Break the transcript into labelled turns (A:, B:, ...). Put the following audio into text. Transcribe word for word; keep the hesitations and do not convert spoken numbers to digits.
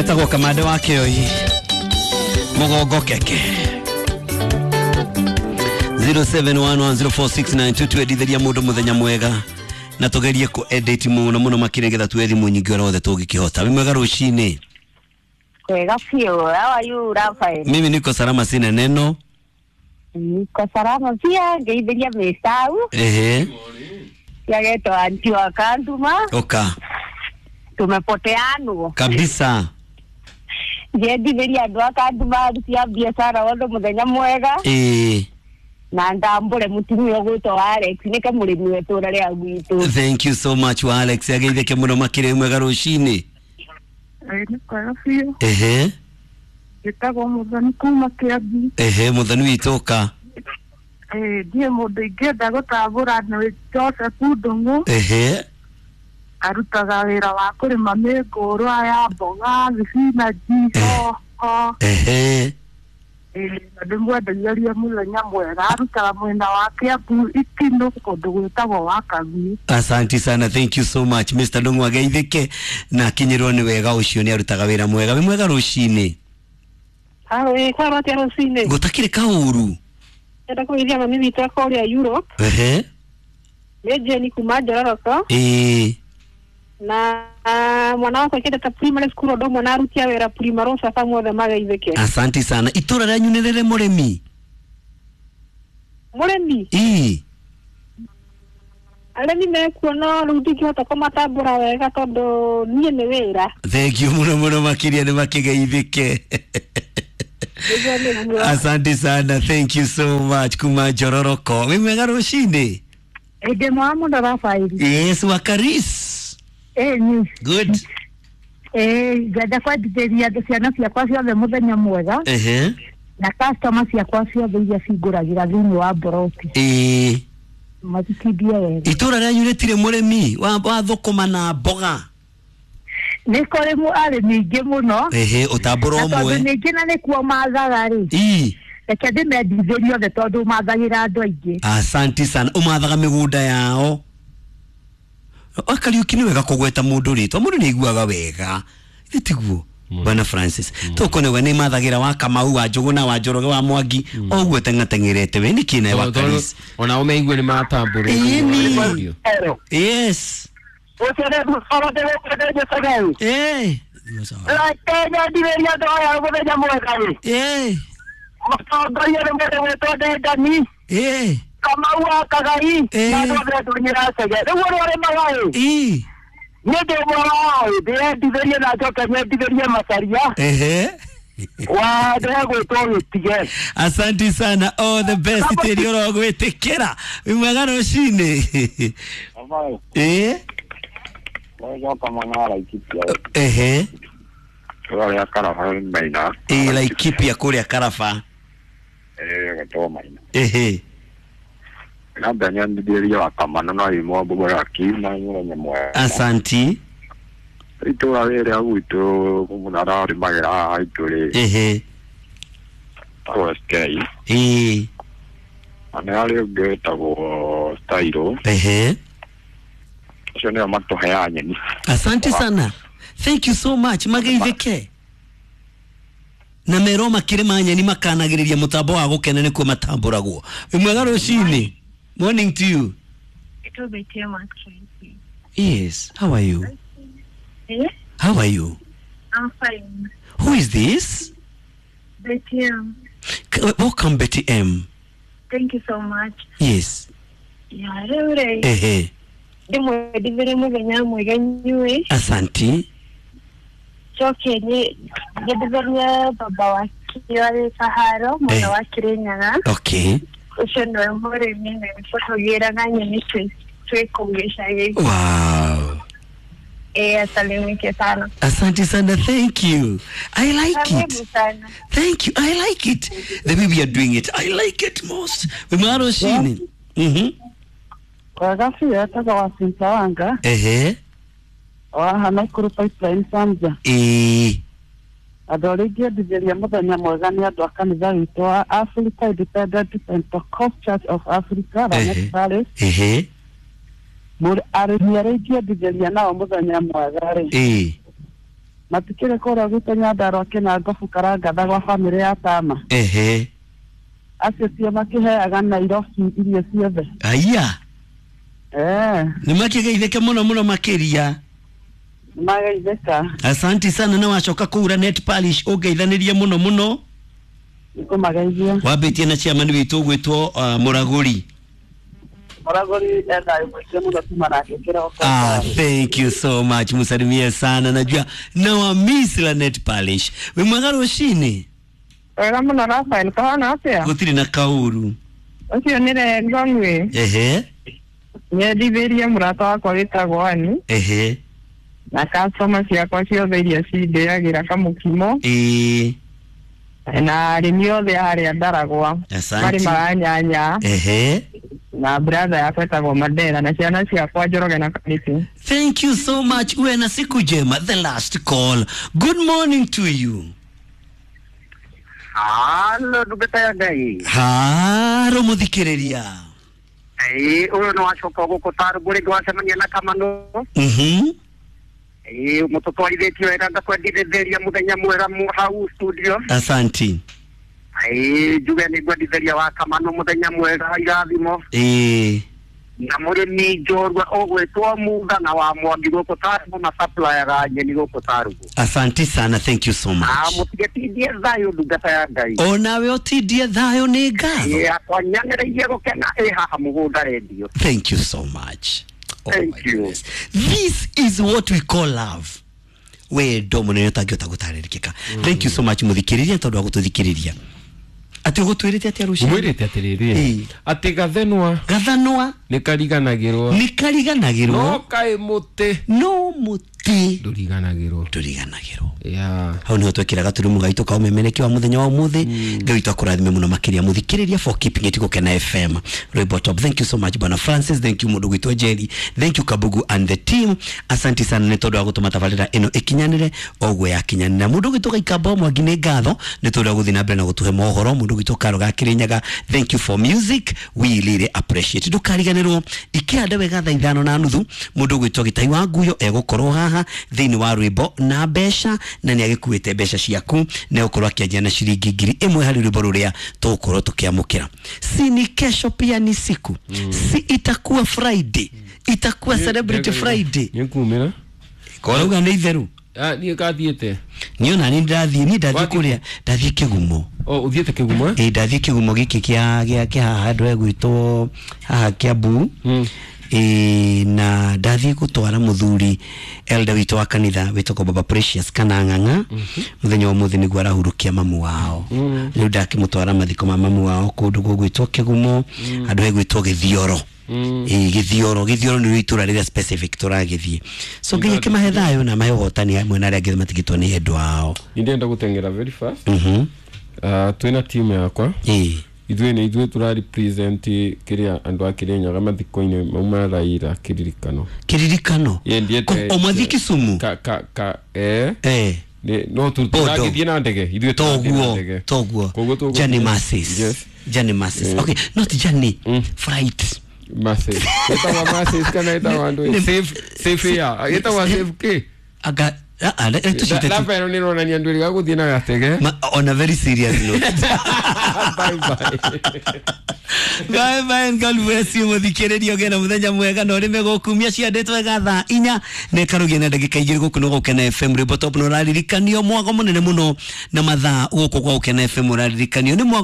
A: Etagwo Kamande wa Kĩoi Mũgongo Keke zero seven one one zero four six nine two two endithĩria mũndũ mũthenya mwega na tugerie ku edit mũno mũno makĩria nĩgetha tuwe thimũ nyingĩ ũrĩa wothe tũngĩkĩhota. Wĩ mwega rũcinĩ?
B: Kwega biũ. How are you, Raphael?
A: Mimi niko salama, sina neno.
B: Niko salama pia, ngeithĩria Mĩcau.
A: Ehe.
B: Yagetwo anti wa Kanduma.
A: Oka.
B: Tumepoteanwo.
A: Kabisa.
B: Ngendithĩria andũ a Kanduma aruti a biacara othe mũthenya mwega.
A: Ĩĩ.
B: Na ndambũre mũtumia ũgwĩtwo Alex nĩke mũrĩmi wa itũũra rĩa gwitũ.
A: Thank you so much wa Alex, ageithĩke mũno makĩria. Mwega rũcinĩ?
C: Nĩ kwega biũ.
A: Ehe.
C: Njĩtagwo Mũthoni kuma Kĩambi.
A: Ehe, Mũthoni witũ ũka.
C: Ĩĩ, ndiĩ mũndũ ingĩenda gũtambũra nĩ Joseph Ndung'u.
A: Ehe.
C: Arutaga wĩra wa kũrĩma mĩngũrwa ya mboga, thibinanji, hoho.
A: Ehe.
C: Ĩĩ, na ndĩmwendagĩria mũthenya mwega. Arutaga mwena wa Kĩambu Itinũ kũndũ gwĩtagwo Wakagui.
A: Asante sana, thank you so much Mister Ndung'u, ageithĩke na akinyĩrwo nĩ wega ũcio, nĩ arutaga wĩra mwega. Wĩ mwega rũcinĩ?
D: Haro, ĩ kwaro atĩa rũcinĩ?
A: Gũtakĩrĩ kaũru.
D: Ndĩrenda kũgeithia mami witũ kũrĩa Europe.
A: Ehe.
D: Nĩ Jane kuma Njororoko.
A: Ĩĩ.
D: Na mwana wakwa ekĩte primary school ũndũ ũmwe na aruti a wĩra Primarosa famothe othe mageithĩke.
A: Asante sana. Itũra rĩanyu nĩ rĩrĩ mũrĩmi?
D: Mũrĩmi?
A: Ĩĩ.
D: Arĩmi mekuo no rĩu ndingĩhota kũmatambũra wega tondũ niĩ nĩ wĩra.
A: Thank you mũno mũno makĩria, nĩ makĩgeithĩke. Asante sana, thank you so much kuma Njororoko. Wĩ mwega rũcinĩ?
C: Ĩndĩ mwega mũno Raphael.
A: Yes, Wakaris.
C: Ĩni.
A: Good.
C: Ĩĩ, ngenda kwendithĩria ciana ciakwa ciothe mũthenya mwega.
A: Ehe.
C: Na customer ciakwa ciothe iria cingũragĩra thĩinĩ wa mboroti.
A: Ĩĩ.
C: Mathikindie wega.
A: Itũra rĩanyu rĩtirĩ mũrĩmi wa, wa thũkũma na mboga?
C: Nĩ kũrĩ arĩmi aingĩ mũno.
A: Ehe, ũtambũra
C: Na tondũ
A: ũmwe.
C: ningĩ na nĩkuo mathaga rĩ.
A: Ĩĩ.
C: Reke ndĩmendithĩrie othe tondũ mathagĩra andũ aingĩ.
A: Asante sana. Ũmathaga mĩgũnda yao. Wakariũki nĩ wega kũgweta mũndũ rĩtwa, mũndũ nĩ aiguaga wega. Ithe tiguo? Bwana Francis. Tũkone we nĩ mathagĩra wa Kamau, wa Njũgũna, wa Njoroge, wa Mwangi, oguo teng'ateng'erete we nĩkĩ nawe wa Karis?
E: Ona meigue nĩ matambũrwo.
A: Ĩni. Yes. Eh.
B: Reke nyendithĩrie andũ aya mũthenya mwega rĩ.
A: Eh.
B: Mũtongoria nĩ mũndũ gwĩtwo Ndendani.
A: Eh.
B: Kamau wa Kagai. Na andũ othe ndũnyĩra Chege. Rĩu ũrĩa ũrĩmaga ĩ.
A: Ĩ.
B: Niĩ ndĩ ũmwe wao ĩ, ndĩrendithĩrie na njoke nyendithĩrie Macharia.
A: Ehe.
B: Wa ndĩregwĩtwo Gĩtige.
A: Asante sana, all the best tĩri ũrogwĩtĩkĩra. Wĩ mwega rũcinĩ? Ĩ. Ehe.
F: Kũrĩa Karaba Maina.
A: Ĩ, Laikipia kũrĩa Karaba.
F: Ĩ, gwĩtwo Maina.
A: Ehe.
F: Labda nyendithĩrie wa Kamano na imwe Mũraki na mũthenya mwega.
A: Asanti.
F: Itũra rĩrĩa gwitũ mũndũ ararĩmagĩra haha itũ rĩ.
A: Ehe.
F: Tagwo S K.
A: Ĩ.
F: Na nĩ harĩ ũngĩ wĩtagwo Stairo.
A: Ehe.
F: Acio nĩo matũheaga nyeni.
A: Asante sana. Thank you so much. Mageithĩke. Na merwo makĩrĩma nyeni makanagĩrĩria mũtambo wa gũkena nĩkuo matambũragwo. Wĩ mwega rũcinĩ? Morning to you.
G: It will be T M actually.
A: Yes. How are you?
G: Eh?
A: How are you?
G: I'm fine.
A: Who is this?
G: Betty M.
A: Welcome, Betty M.
G: Thank you so much.
A: Yes.
G: Yeah, rĩu
A: Ehe.
G: ndĩmwendithĩrie mũthenya mwega inyuĩ.
A: Asante.
G: Njoke nyendithĩrie baba wa Kĩo arĩ Kaharo, mwena wa Kĩrĩnyaga.
A: Okay.
G: Ũcio nĩwe mũrĩmi na nĩtũgĩraga nyeni twĩ kũu gĩcagi.
A: Wow.
G: Eh, asalimike sana.
A: Asante sana, thank you. I like it.
G: Karibu sana.
A: Thank you. I like it. The way we are doing it, I like it most. Wĩ mwega rũcinĩ? Mhm.
C: Kwega biũ, etagwo Wacinta Wanga.
A: Ehe.
C: Wa Nakuru Pipeline Samja.
A: Ĩĩ.
C: Andũ arĩa ingĩendithĩria mũthenya mwega nĩ andũ a kanitha witũ wa Africa Independent Pentecost Church of Africa, Lanet Parish.
A: Ehe.
C: Arĩmi arĩa ingĩendithĩria nao mũthenya mwega rĩ.
A: Ĩĩ.
C: Matikĩrĩ kũrĩa gwitũ Nyandarua Kĩnangobu Karangatha gwa bamĩrĩ ya Tama.
A: Ehe.
C: Acio tio makĩheaga Nairobi irio ciothe.
A: Aya.
C: Eh.
A: Nĩ makĩgeithĩke mũno mũno makĩria.
C: Mageithĩka.
A: Asanti sana na wacoka kũu Lanet Parish ũngeithanĩrie mũno mũno.
C: Nĩkũmageithia.
A: Wambĩtie na chairman witũ ũgwĩtwo uh, Mũragũri.
C: Mũragũri enda mũingĩ mũno tuma nake kĩroko.
A: Ah, thank you so much. Msalimie sana. Najua na wa miss Lanet Parish. Wĩ mwega rũcinĩ?
D: Wega mũno Rafael, kahana atĩa?
A: Gũtirĩ na kaũru.
D: Ũcio nĩ Rengong'we.
A: Ehe.
D: Nyendithĩrie mũrata wakwa wĩtagwo Ani.
A: Ehe.
D: Na customer ciakwa ciothe iria cindĩagĩra kamũkimo.
A: Ĩĩ.
D: Na arĩmi othe harĩa Ndaragwa.
A: Asante.
D: Marĩmaga nyanya.
A: Ehe.
D: Na brother yakwa ĩtagwo Mandela na ciana ciakwa Njoroge na Kamiti.
A: Thank you so much. Uwe na siku njema. The last call. Good morning to you.
F: Halo ndungata ya Ngai.
A: Haro mũthikĩrĩria.
F: Ĩĩ ũyũ nĩ wacoka gũkũ Tarũngũ rĩngĩ wacemania na Kamano.
A: Mhm.
F: Ĩĩ mũtũtwarithĩtie wega ngakwendithĩria mũthenya mwega hau studio.
A: Asanti.
F: Ĩĩ njuge nĩ ngwendithĩria wa Kamano mũthenya mwega irathimo.
A: Ĩĩ.
F: Na mũrĩmi njorua ũgwĩtwo Mutha na wa Mwangi gũkũ Tarũngũ na supplier nyeni gũkũ Tarũngũ.
A: Asanti sana, thank you so much.
F: Ah, mũtigetindie thayũ ndungata ya Ngai.
A: Onawe ũtindie thayũ nĩ ngatho.
F: Ĩĩ akwa nyanĩrĩirie gũkena ĩ haha mũgũnda rendio.
A: Thank you so much. Oh,
F: thank
A: my
F: you.
A: Goodness. This is what we call love. Wendo mũnene ũtangĩhota gũtarĩrĩkĩka. Thank you so much mũthikĩrĩria tondũ wa gũtũthikĩrĩria. Atĩ ũgũtwĩrĩte atĩa rũciũ?
E: Ngwĩrĩte atĩrĩrĩ atĩ gathenwa
A: gathanwa
E: nĩ kariganagĩrwo
A: nĩ kariganagĩrwo
E: no kaĩ mũtĩ
A: no mũtĩ
E: ndũriganagĩrwo
A: ndũriganagĩrwo.
E: Yeah.
A: Hau niho twekĩra gaturumu gaitũ ka ũmemerekia wa mũthenya wa ũmũthĩ. Ngai witũ akũrathime mũno makĩria mũthikĩrĩria for keeping it Gũkena F M. Rwĩmbo top. Thank you so much Bwana Francis, thank you mũndũ gwitũ Jerry, thank you Kabugu and the team. Asanti sana nĩ tondũ wa gũtũma tabarĩra ĩno ĩkinyanĩre oguo yakinyanĩra. Mũndũ gwitũ Gaikamba Mwangi nĩ ngatho nĩ tondũ wa gũthiĩ na mbere na gũtũhe mohoro. Mũndũ gwitũ Karo ga Kĩrĩnyaga, thank you for music, we really appreciate. Ndũkariganĩrwo ikĩhanda wega thaa ithano na nuthu mũndũ gwitũ Gĩtai wa Nguyo egũkorwo haha thĩinĩ wa rwĩmbo na mbeca na nĩ agĩkuĩte mbeca ciaku na ũkorwo akĩanjia na ciringi ngiri ĩmwe harĩ rwĩmbo rũrĩa tũgũkorwo tũkĩamũkĩra. Si ni kesho pia ni siku. Mm. Si itakuwa Friday. Mm. Itakuwa celebrity Friday.
E: Nĩngumĩra.
A: Korauga nĩ itheru.
E: Ah, niĩ ngathiĩte.
A: Niĩ ona niĩ ndathiĩ, niĩ ndathiĩ kũrĩa, ndathiĩ Kĩgumo.
E: Oh, ũthiĩte Kĩgumo?
A: Ĩĩ ndathiĩ Kĩgumo gĩkĩ kĩa gĩa kĩa haha handũ hegwĩtwo haha Kiambu. Mm. E, na ndathi gutwara muthuri elder witũ wa kanitha witũ Baba Precious kana ng'ang'a muthenya wa muthi niguo arahurukia mamu wao. Riu ndakimutwara mathiko ma mamu wao kundu gugwitwo Kĩgumo andu hegwitwo Gĩthioro. Ĩ Gĩthioro Gĩthioro nĩ itũra rĩrĩa specific tũragĩthiĩ. So Ngai akĩmahe thayũ na mahe ũhotani hamwe na arĩa angĩ matigĩtwo nĩ endwa ao.
E: Ndĩrenda gũteng'era very fast.
A: Mhm.
E: Ah, twĩna team yakwa.
A: Ĩ
E: ithuĩ nĩ ithuĩ tũra represent kĩrĩa andũ a Kĩrĩnyaga mathiko-inĩ mauma Raila kĩririkano
A: kĩririkano o mathi Kisumu
E: ka ka ka eh
A: eh
E: no tũragĩthiĩ na ndege ithuĩ
A: toguo toguo Journey Masses.
E: Yes.
A: Journey Masses. Okay, not journey. Flight
E: Masses. Ĩtagwo Masses kana ĩtagwo andũ safe safe ya ĩtagwo safe kĩ
A: aga ah tucite
E: Rafael nĩ ronania andũ erĩ gũthiĩ na gatege.
A: On a very serious note.
E: Bye bye.
A: Bye bye and God bless you mũthikĩrĩria ũgĩe na mũthenya mwega na ũrĩme gũkumia ciandĩtwo wega thaa inya na ĩkarũgia na ndagĩka igĩrĩ gũkũ nĩ Gũkena F M. Rwĩmbo top nĩ ũraririkanio mwago mũnene mũno na mathaa gũkũ kwa Gũkena F M ũraririkanio nĩ mwago